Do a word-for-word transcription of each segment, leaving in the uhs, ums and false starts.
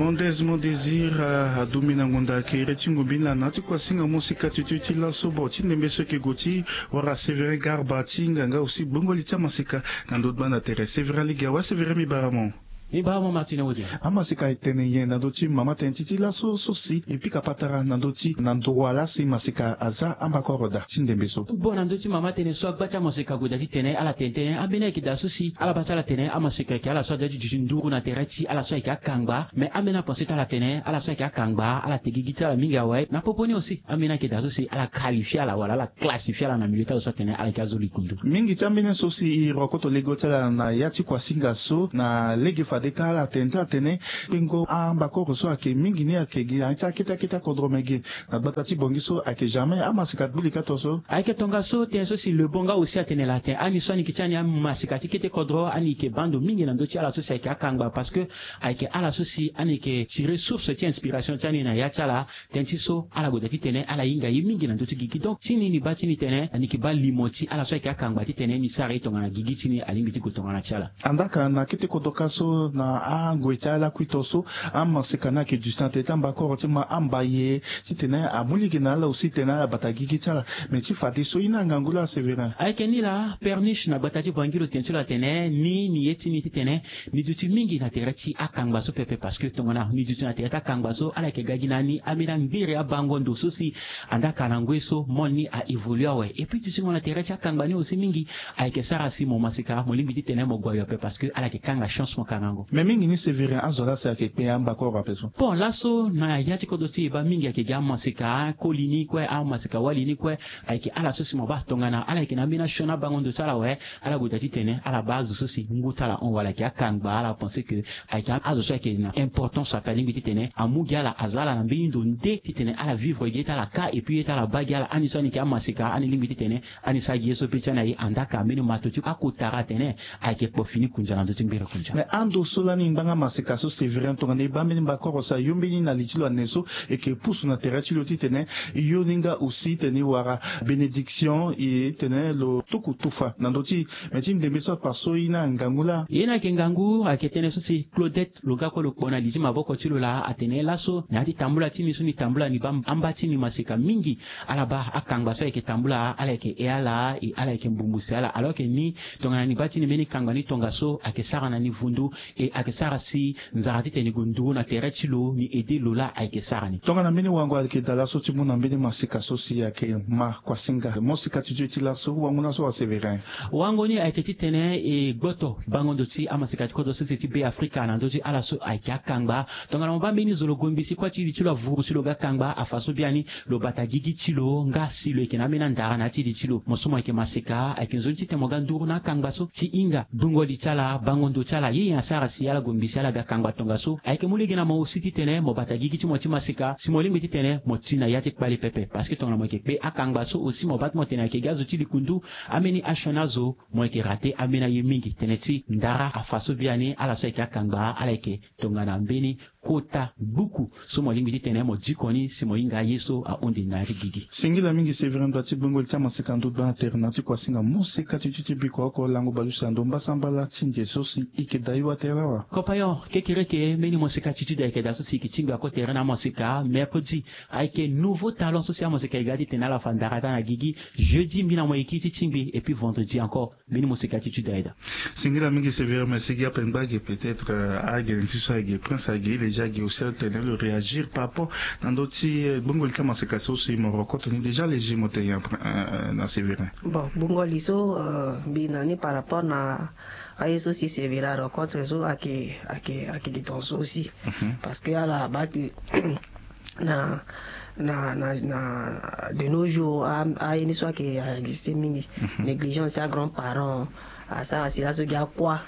Mondez mondezir, adumbeni na ngonda kere ti ngombi na na ti kuasinga mosika ti ti ti laso bo ti ndembe so eke gue ti wara Severin Garba ti nganga aussi gbongoli ti amasika na ndö ti banda tere. Severin lege awe. Severin, mbi bara mo. Mbi bara mo Martin Wode. Amasika etene nyen na ndö ti mama tene ti ti laso so si e pika patara na ndö ti na ndua laa si masika aza ambakoro daa ti ndembe so? Bon, na ndö ti mama tene so agba ti amasika ague daa titene ala tene tënë ambeni ayeke daa so si ala baa ti ala tene amasika ayeke ala so aza ti duti nduru na tere ti ala so ayeke akangba. Mais ambeni apense ti ala tene ala so ayeke akangba ala te gigi ti ala mingi awe. Na popo ni aussi ambeni ayeke daa so si ala qualifie ala wala ala classifie ala na milieu ti azo so atene ala yeke azo likundu. Mingi ti ambeni so si e rokoto lege ti ala na ya ti kuasinga so na lege fade kâ ala tene ti ala tene tengo ambakoro so ayeke mingi ni ayeke gi na ya ti akete akete akodro me gi na gbata ti Bangui so ayeke jamais amasika gbu lika to so. Ayeke tongaso tënë so si Lebon nga aussi atene laa tene ani so ani yeke ti ani amasika ti kete kodro ani yeke baa ndo mingi na ndö ti ala so si ayeke akangba parce que ayeke ala so si ani yeke tire source ti inspiration ti ani na ya ti ala. Tënë ti so ala gue daa titene ala hinga ye mingi na ndö ti gigi. Donc ti ni ni baa ti ni tene ani yeke baa limo ti ala so ayeke akangba titene ni sara ye tongana gigi ti ni alingbi ti gue tongana ti ala. Andaa ka na kete kodro kâ so na angoi ti alakui to so amasika ni ayeke duti na tere ti ambakoro ti ma ambaye titene amu lege na ala aussi titene ala bata gigi ti ala. Mais ti fadeso ye ni angangu laa Severin? Ayeke ni laa, Perniche na gbata ti Bangui lo tene ti lo atene ni ni ye ti ni titene ni duti mingi na tere ti akangba so pepe parce que tongana ni duti na tere ti akangba so ala yeke ga gi na ni ambeni angbiri abango ndo so si andaa ka na ngoi so monde ni a évolue awe. Et puis dutingo na tere ti akangba ni aussi mingi ayeke sara si mo masika mo lingbi titene mo gue ayo ape parce que ala yeke kanga chance mo kangango. Mais mingi ni Severin azo laa si ayeke kpe ambakoro ape so? Bon, laso na ya ti kodro ti e baa mingi ayeke gi amasika koli ni kue, amasika wali ni kue. Ayeke ala so si mo baa tongana ala yeke na ambeni asioni abango ndo ti ala awe, ala gue daa titene ala baa azo so si ngu ti ala hon wala ayeke akangba ala pense que ayeke azo so ayeke na importance ape alingbi titene amu gi ala azo ala na mbeni ndo nde titene ala vivre gi ye ti ala kâ. Et puis ye ti ala baa gi ala ani so ani yeke amasika ani lingbi titene ani sara gi ye so pe ti ani aye. Andaa ka mbeni mato ti akota atene ayeke kpo fini kundia na ndö ti ngbere kundia. Mais ando so lani ngbanga masika so Severin tongana e baa mbeni mbakoro so ayo mbeni na li ti lo ane so eke pusu na tere ti lo titene yo ni nga aussi titene e wara bénédiction e tene lo tuku tufa na ndö ti e. Mais ti ndembe so apa so ye ni angangu laa? Ye ni ayeke ngangu ayeke tënë so si Claudette lo ga kue lo kpo na li ti maboko ti lo laa atene laso na ya ti tambula ti ni so ni tambula ni baa amba ti ni masika mingi. Ala baa akangba so ayeke tambula ala yeke he ala e ala yeke mbumbu si ala alors que ni tongana ni baa ti ni mbeni kangba ni tongaso ayeke sara na ni vundu e ayeke sara si nzara titene ni gue nduru na tere ti lo ni aide lo laa ayeke sara ni. Tongana mbeni wango ayeke daa laso ti mu na mbeni masika so si ayeke ma kuasinga mosika ti zo ti laso wango ni laso wa Severin? Wango ni ayeke titene e gboto bango ndo ti amasika ti kodro sese ti Be Afrika na ndö ti ala so ayeke akangba. Tongana mo baa mbeni zo lo gue mbisi kue ti li ti lo avuru si lo ga kangba afa so biani lo bata gigi ti lo nga si lo yeke na ambeni andara na ya ti li ti lo. Mo so mo yeke masika ayeke nzoni titene mo ga nduru na akangba so ti hinga gbungo li ti ala bango ndo ti ala ye nyen asara si ala gue mbisi ala ga kangba tongaso. Ayeke mu lege na mo aussi titene mo bata gigi ti mo ti masika si mo lingbi titene mo ti na ya ti kpale pepe parce que tongana mo yeke kpe akangba so aussi mo baa ti mo tene ayeke gi azo ti likundu. Ambeni asioni azo mo yeke rate ambeni aye mingi tënë ti ndara afa so biani ala so ayeke akangba ala yeke tongana mbeni kota buku so mo lingbi titene mo diko ni si mo hinga aye so ahon nde na ya ti gigi. Singila mingi Severin ndo ti gbongoli ti amasika ndo gbanga tere na ti kuasinga mosika ti ti ti biko oko lango bale use na ndo mbasambala ti nze so si e yeke daa e wa tere lawa. Compagnon kekereke mbeni mosika ti ti da e yeke daa so si e yeke tingbi ako tere na amasika mercredi. Ayeke nouveau talent so si amasika e ga titene ala fa ndara daa na gigi. Jeudi mbi na mo e kiri ti tingbi et puis vendredi encore. Mbeni mosika ti ti da e daa. Singila mingi Severin, mais si gi ape ngba gi peut-être agene ti so agi prince agi lege agi aussi atene lo réagir par rapport na ndö ti gbongoli ti amasika so si mo rokoto ni déjà lege mo te nyen na Severin? Bon, gbongoli so mbi na ni par rapport na aye so si Severin arokoto so ake ake ake gi ton so aussi. Parce que ala baa ke na na na na de nos jours aye ni so ake existe mingi. Négligence ti agrand parent asara si laso gi akua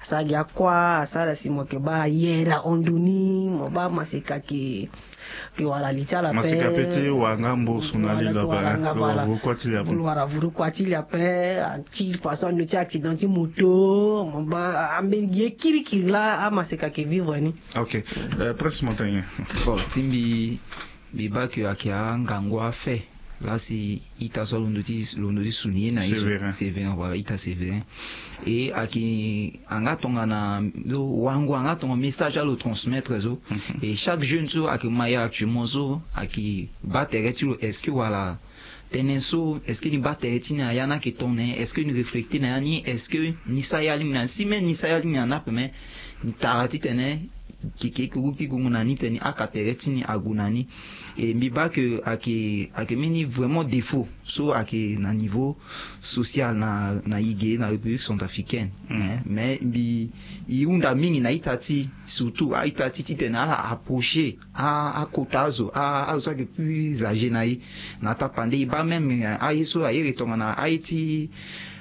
asara gi akua asara si mo yeke baa ayere ahon ndo ni mo baa masika ke ke wara li ti ala pe masika pe ti wara nga mboso na li lo ape lo wara vuru kua ti li ape lo wara vuru kua ti li ape. Ti façon ando ti accident ti moto mo baa ambeni ye kirikiri laa amasika ke vivre ni. Ok. Prince Montagnais. Bon ti mbi mbi baa ke ayeke angangu afe Lasi ita so alondo ti londo ti suni ye na ye so. Sévérin. Sévérin, voilà, ita Sévérin. E ayeke anga tongana lo wango anga tongana message alo transmettre so. E chaque jeune so ayeke ma ye actuellement so ayeke baa tere ti lo, est-ce que wala tënë so, est-ce que ni baa tere ti ni aya ni ayeke ton na ye? Est-ce que ni réfléchir na ya ni? Est-ce que ni sara ya lingbi na ni? Si même ni sara ya lingbi na ni ape, mais ni tara titene keke kuku ti gungu na ni tene aka tere ti ni ague na ni. E mbi baa ke ayeke ayeke mbeni vraiment défaut so ayeke na niveau social na na e ge na République centrafricaine. Mais mbi e hunda mingi na ita ti surtout a-ita ti titene ala approcher a akota azo a azo so ayeke plus âgé na e. Na tapande e baa même aye so ayeke tongana aye ti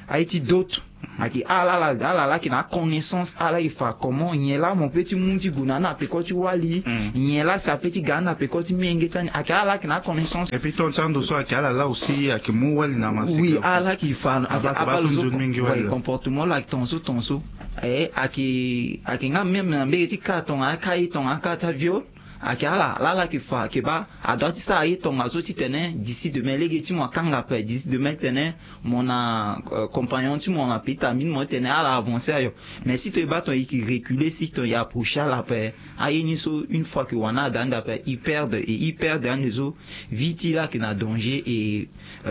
aye ti dot. Ayeke ala ala ala ala ayeke na aconnaissance, ala ayeke fa comment nyen laa mo peut ti mu ti gue na ni na peko ti wali. Nyen laa si apeut ti ga ni na peko ti menge ti ani, ayeke ala ayeke na aconnaissance. Et puis ton ti ando so ayeke ala laa aussi ayeke mu wali na masika. Oui, ala ayeke fa ayeke abaa lo so nzoni mingi wali. Comportement lo ayeke ton so ton so. E ayeke ayeke nga même na mbege ti ka tongana aka ye tongana aka ti aviol. Ayeke ala ala ala ayeke fa ayeke baa adua ti sara ye tongaso titene d'ici demain lege ti mo akanga ape, d'ici demain titene mo na compagnon ti mo na petit ami ti mo titene ala avancer ayo. Mais si ton e baa ton e yeke reculer, si ton e approcher ala ape, aye ni so une fois que wani aga ande ape, e perdre et e perdre ande so vie ti e laa ayeke na danger et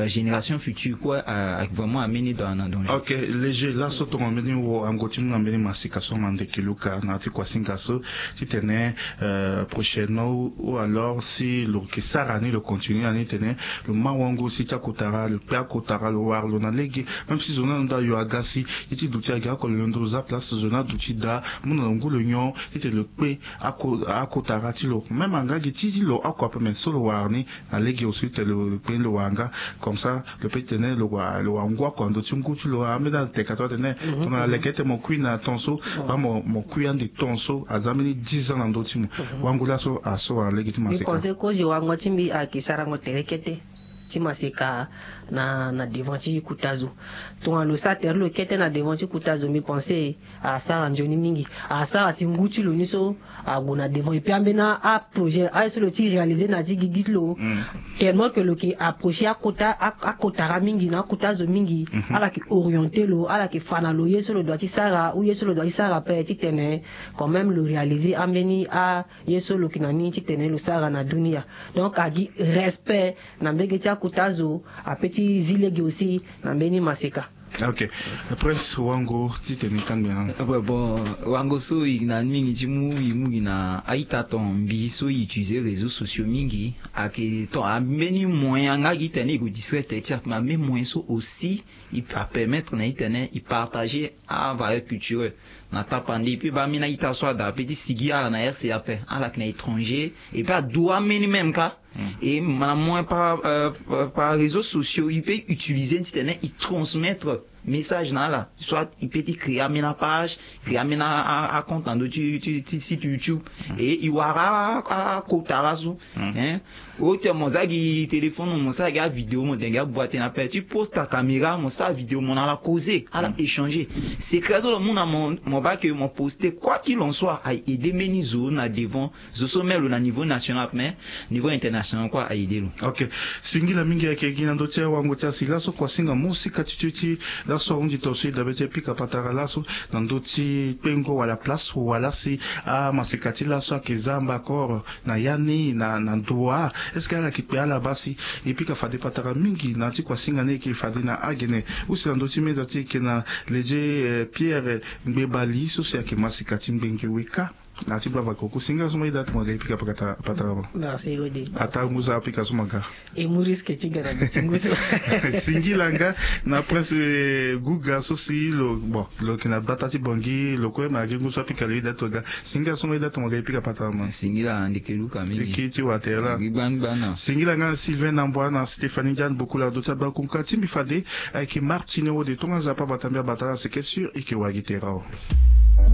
génération future kue ayeke vraiment ambeni dans na danger. Ok, léger laso tongana mbeni wango ti mu na mbeni masika so na ndeke luka na ya ti kuasinga so titene prochainement ou alors si lo yeke sara ni lo continue na ni titene lo ma wango si ti akotara lo kpe akotara lo wara lo na lege. Même si zo ni alondo ayo aga si ye ti duti agi oko lo londo lo za place zo ni aduti daa mu na lo ngu lo nyon titene lo kpe akotara ti lo même anga gi ti ti lo oko ape mais so lo wara ni na lege aussi titene lo kpe ni lo wara nga. Comme ça lo peut titene lo wara lo wara ngu oko na ndö ti ngu ti lo ambeni ateka to atene tongana leke ete mo kui na ton so baa mo kui ande ton so aza mbeni dix ans na ndö ti mo. Wango laso aso wara lege ti maseka. Mbi pense kozo wango ti mbi ayeke sarango tere kete ti maseka na na devant ti kuta zo. Tongana lo sara tere lo kete na devant ti kuta zo mbi pense asara nzoni mingi. Asara si ngu ti lo ni so ague na devant et puis ambeni aprojet aye so lo ti réaliser na ya ti gigi ti lo. Tellement que lo yeke approcher akota akotara mingi na akota zo mingi. Ala yeke orienter lo, ala yeke fa na lo ye so lo doit ti sara ou ye so lo doit ti sara ape titene quand même lo réaliser ambeni aye so lo yeke na ni titene lo sara na dunia. Donc agi respect na mbege ti akota zo ape ti zi lege aussi na mbeni maseka. Ok. Prince wango titene kangbe na. Bon, wango so e na mingi ti mu e mu gi na a-ita ton mbi so e utiliser réseaux sociaux mingi. Ayeke ton ambeni moyen anga gi tene e gue distraire tere ti e ape mais ambeni moyen so aussi e apermettre na e tene e partager avaleur culturel. Na tapande e peut baa ambeni a-ita so ada ape ti sigi ala na R C A ape ala yeke na étranger e peut adu ambeni même ka. Et na moyen par, euh, par réseaux sociaux e peut utiliser titene e transmettre message na ala soit e peut ti créer ambeni apage, créer ambeni acompte na ndö ti site YouTube. Et e wara akotara so. Hein, ote mo za gi téléphone mo sara gi avidéo mo tene gi aboite na ape ti poste acaméra mo sara vidéo mo na ala causer ala échanger. Secret so lo mu na mo mo baa ke mo poster quoi qu'il en soit aye aider mbeni zo na devant. Zo so même lo na niveau national mais niveau international kue a aide lo. Ok. Singila mingi ayeke gi na ndö ti awango ti asi laso kuasinga mu sika ti tio ti laso ahunzi ton so e dabe ti e pika patara laso na ndö ti kpengo wala place wala si amasika ti laso ayeke za mbakoro na ya ni na na ndo wa. Est-ce que ala yeke kpe ala baa si e pika fade patara mingi na ya ti kuasinga ni e yeke fade na agene? Use na ndö ti meza ti e yeke na leje Pierre Ngbebali so si ayeke masika ti Ngbenge Weka. Na ti baba koko singila so mo yeda ti mo ga e pika patara mo. Merci Rode. Ata ngu so apika so mo ga. E mu risque ti ga na ti ngu so. Singila nga na prince Guga so si lo bon lo yeke na bata ti Bangui lo kue ma agi ngu so apika lo yeda ti mo ga. Singila so mo yeda ti mo ga e pika patara mo. Singila ndeke luka mingi. Eke ti watela. Singila nga na Sylvain Nambwa na Stéphanie Ndiane Bokula do ti abakunka ti mbi fade ayeke Martine Wode tonga nzapa bata mbi abata na seke sur eke wagi tera o.